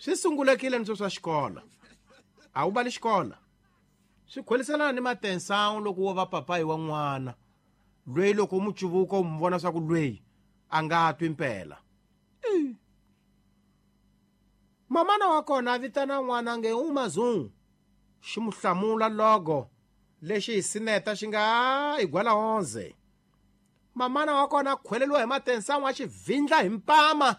Swi sungulekile ni swa xikolo. A wu bali xikolo. Swi khweliselana ni matensawu loko wo va papayi wa n'wana loyi loko u mu cuvuka u mu vona swa ku loyi a nga twi mpela. Mamana wa kona a vitana n'wana nge u mazungu. Xi mu hlamula logo lexi hi sineta xi nga igwala 11. Mamana wa kona a khweleliwa hi matensawu a xi vindla hi mpama.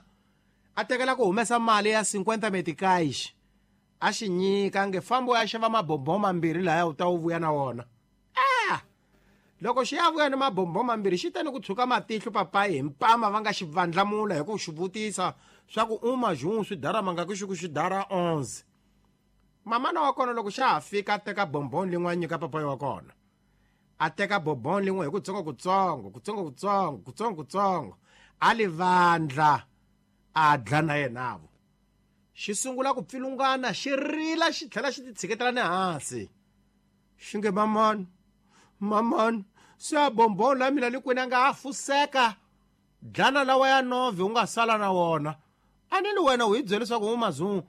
A tekela ku humesa mali ya 50 meticais. A xi nyika nge fambo ya xava mabombo mambirhi laya u ta wu vuya na wona. Loko xi ya vuya ni mabombo mambirhi xi ta ni ku tshuka matihlo papayi hi mpama va nga xi vandlamula hi ku xi vutisa swa ku u majungu swi dara manga ku xi ku xi dara 11. Mamana wa kona loko xa ha fika a teka bombon lin'we a nyika papayi wa kona. A teka bombon lin'we hi kutsongo kutsongo, kutsongo kutsongo, kutsongo kutsongo, a li vandla a dla na yenavo. Xi sungula ku pfilungana xi rila xi tlhela xi titshiketela ni hansi. Xi nge mamani, mamani, se a bombon la mina likwini a nga ha fuseka. Dlana lawa ya nove u nga sala na wona. A ni li wena u hi byele leswaku u mazungu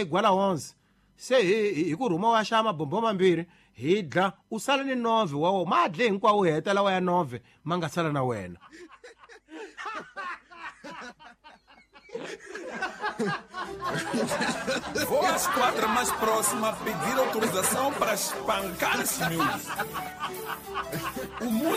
gwala 11. Se hi ku rhuma wa xava mabombo mambirhi hi dla u sala ni nove wa wona. Ma dle hinkwawo u heta lawa ya nove ma nga sala na wena. Vou à esquadra mais próxima pedir autorização para espancar esse miúdo. O músico